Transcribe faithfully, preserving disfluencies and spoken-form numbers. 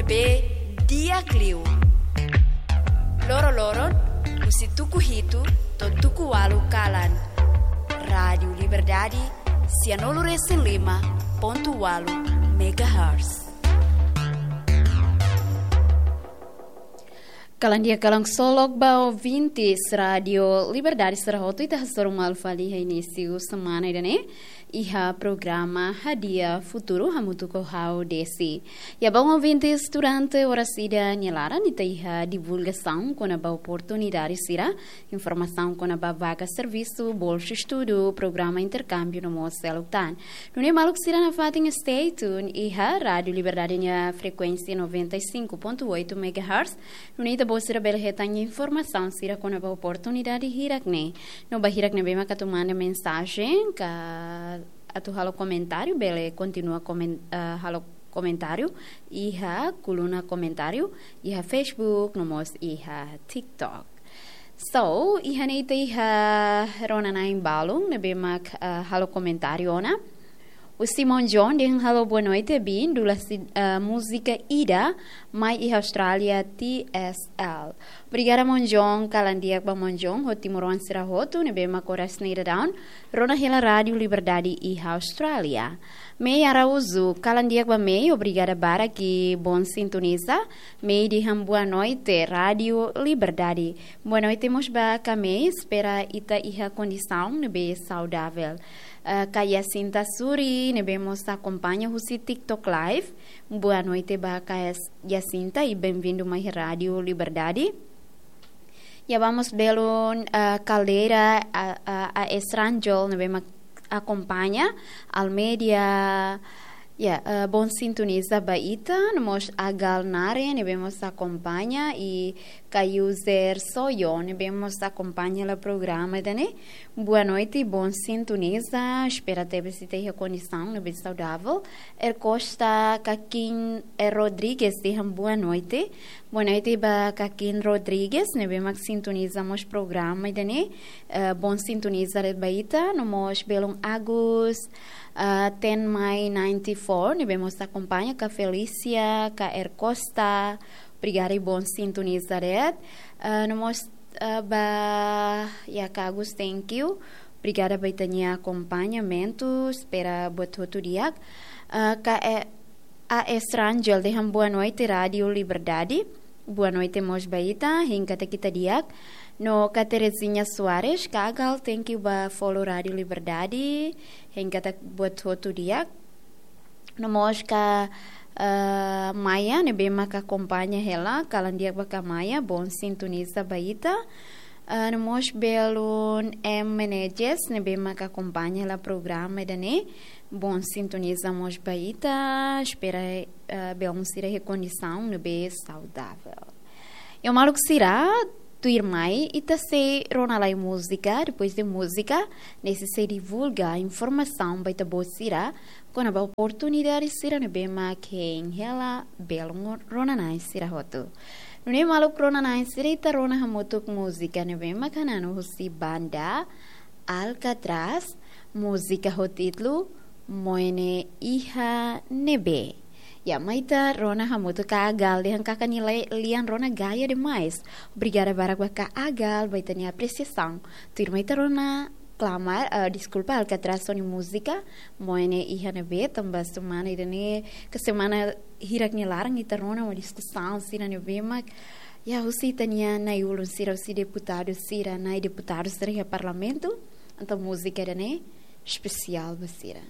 Be di'ak liu. Loro-loron, husi tuku hitu to'o tuku ualu kalan. Rádiu Liberdade, sianulu resin lima pontu ualu megahertz. Kalan di'ak, kalan ksolok ba ouvintes Rádiu Liberdade sira hotu, ita hasoru malu fali iha inísiu semana ida-ne'e, iha programa Hadi'a Futuru hamutuk ho ha'u Desi. Ya, ba ouvintes, durante oras ida nia laran ita iha divulgasaun kona-ba oportunidade sira, informasaun kona-ba vaga servisu, bolsa estudu, programa interkámbiu no mós seluk tan. Nune'e maluk sira nafatin stay tune iha Rádiu Liberdade nia frekuénsia noventa e cinco ponto oito megahertz. Nune'e ita-boot sira bele hetan informasaun sira kona-ba oportunidade hirak-ne'e. No ba hirak ne'ebé maka atu manda mensajen ka atu halo komentáriu, bele kontinua komen-, eh, halo komentáriu iha koluna komentáriu iha Facebook no mós iha TikTok. So, iha ne'e ita iha rona-na'in balun ne'ebé mak, eh, halo komentáriu ona. Husi Monjon dehan halo boa noite, biin, dula si-, eh, múzika ida mai iha Austrália, T S L. Obrigada, Monjon, kalan di'ak ba Monjon ho timoroan sira hotu ne'ebé mak oras ne'e daudaun rona hela Rádiu Liberdade iha Austrália. Mei Araújo, kalan di'ak ba Mei, obrigada barak i bon sintoniza. Mei dehan boa noite, Rádiu Liberdade. Boa noite mós ba ka Mei, espera ita iha kondisaun ne'ebé saudavel. Eh, ka Yacinta Suri, ne'ebé mós akompaña husi TikTok Live. Boa noite ba ka Yas-, Yacinta i bem-vindo mai Rádiu Liberdade. Ya, vamos belun, eh, Caldeira, a, a, a Estrangel, ne'ebé mak akompaña, Almeida, ya, eh, bon sintoniza ba ita, no mós Agal Nare, ne'ebé mós akompaña, i ka user Soyo, ne'ebé mós akompaña hela programa ida-ne'e. Boa noite, bon sintoniza, espera tebes ita iha kondisaun ne'ebé saudavel. Er Costa, Kakin, er Rodrigues, dehan boa noite. Boa noite ba Kakin Rodrigues, ne'ebé mak sintoniza mós programa ida-ne'e. Eh, bon sintoniza de'it ba ita, no mós belun Agus, eh, Ten Mai ninety four, ne'ebé mós akompaña ka Felícia, ka Er Costa. Obrigada i bon sintoniza de'it. Eh, no mós, eh, ba, ya ka Agus, thank you. Obrigada ba ita-nia akompañamentu, espera buat hotu di'ak. Eh, ka, eh, A Estrangel dehan boa noite, Rádiu Liberdade. Boa noite mós ba ita, hein katak ita di'ak. No ka Terezinha Soares, ka Agal, thank you ba follow Rádiu Liberdade, hein katak buat hotu di'ak. No mós ka, eh, Maia, ne'ebé maka akompaña hela, kalan di'ak ba ka Maia, bon sintoniza ba ita. Ah, no mós belun M Menezes, ne'ebé maka akompaña hela programa ida-ne'e. Bon sintoniza mós ba ita, espera, ah, belun sira iha kondisaun ne'ebé saudavel. Ya maluk sira, tuirmai ita sei rona lai múzika, depois de múzika, ne'e sei divulga informasaun ba ita-boot sira, kona-ba oportunidade sira ne'ebé mak hein hela belun rona-na'in sira hotu. Nune'e maluk rona-na'in sira, ita rona hamutuk múzika ne'ebé mak hananu husi banda Alcatraz, múzika ho títulu Moe ne'e Iha Ne'ebé. Ya, mai ita rona hamutuk, ka Agal dehan karik nia le-, lian rona gaya demais. Obrigada barak ba ka Agal ba ita-nia apresiasaun. Tuirmai ita rona Klamar, eh, deskulpa, Alcatraz ho nia múzika Moe ne'e Iha Ne'ebé, tanba semana ida-ne'e, ka semana hirak nia laran ita rona mak diskusaun sira ne'ebé mak, ya, husi ita-nia na'i-ulun sira, husi deputadu sira, na'i deputadu sira iha parlamentu, entaun múzika ida-ne'e espesiál ba sira.